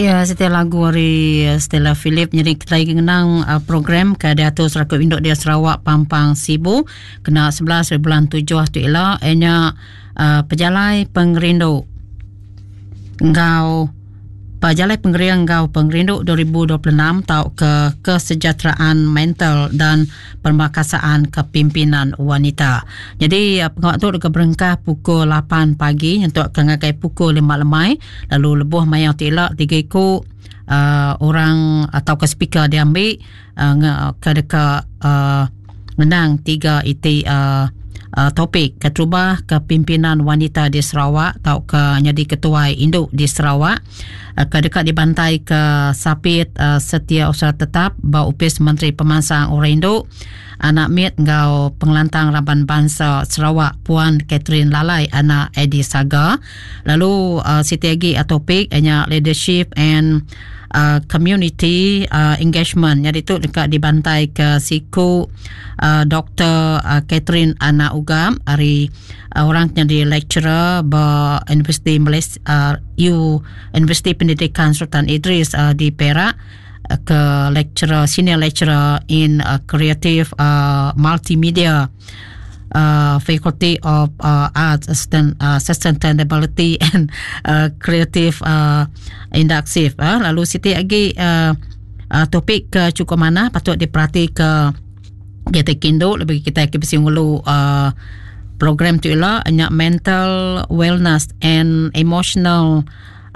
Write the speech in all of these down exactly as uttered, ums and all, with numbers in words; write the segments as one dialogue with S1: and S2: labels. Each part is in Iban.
S1: Ya, setiap lagu ari Stella Philip. Jadi kita lagi ngenang uh, program ke diatur Serakup Induk Dia Sarawak Pampang Sibu kena sebelas bulan tujuh tu ila nya uh, pejalai pengerindu enggau Pejalai Pengering enggau Pengerindu dua ribu dua puluh enam tau ke kesejahteraan mental dan pemerkasaan kepimpinan wanita. Jadi pengawak tu dekat berengkah pukul lapan pagi untuk ke ngagai pukul lima lemai, lalu lebuh maya ti ila tiga iku uh, orang atau ke speaker diambil uh, ke dekat uh, menang tiga iti uh, Uh, topik keterubah kepimpinan wanita di Sarawak atau ke jadi ketua induk di Sarawak uh, ke dekat dibantai ke Sapit uh, Setiausaha Tetap ba Upis Menteri Pemansang Orang Induk Anak Mit ngau Pengelantang Raban Bangsa Sarawak Puan Catherine Lalai anak Eddie Saga. Lalu uh, siti lagi uh, topik nya leadership and Uh, community uh, engagement. Jadi tu dekat dibantai ke siku uh, Doktor uh, Catherine Anak Ugam ari uh, orang yang di lecturer ba Universiti Malaysia uh, U Universiti Pendidikan Sultan Idris uh, di Perak, uh, ke lecturer senior lecturer in uh, creative uh, multimedia Uh, Faculty of uh, Arts Sustain, uh, Sustainability and uh, Creative uh, Inductive. Uh, lalu siti lagi uh, uh, topik ke cukup mana patut diperhati ke kita kindu lebih kita ke besi ngulu uh, program tu ialah nya mental wellness and emotional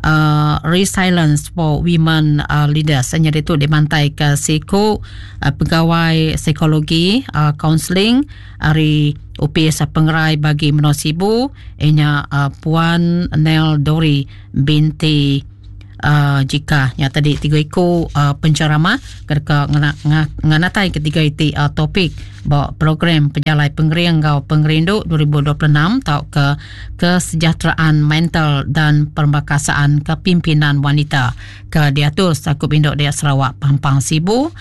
S1: Uh, resilience for women uh, leaders. Jadi itu dibantai ke siku uh, pegawai psikologi uh, counseling ari U P S Pengerai bagi Menua Sibu inya uh, Puan Nel Dori binti uh, jika yang tadi tiga iku uh, penceramah ke nganatai ketiga iti uh, topik ba program pejalai pengering ngau pengerindu dua ribu dua puluh enam tau ke kesejahteraan mental dan pemerkasaan kepimpinan wanita ke diatur Serakup Induk Dayak Sarawak Pampang Sibu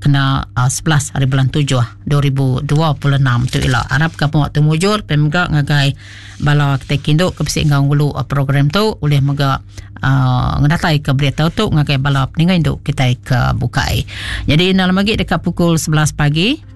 S1: kena uh, sebelas hari bulan tujuh dua ribu dua puluh enam tu ila. Harap ke waktu mujur pemga ngagai bala kita kinduk ke besi ngau ngulu uh, program tu oleh mega uh, ngedatai ke berita tu ngagai bala peninggai induk kita ke bukai. Jadi dalam lagi dekat pukul sebelas pagi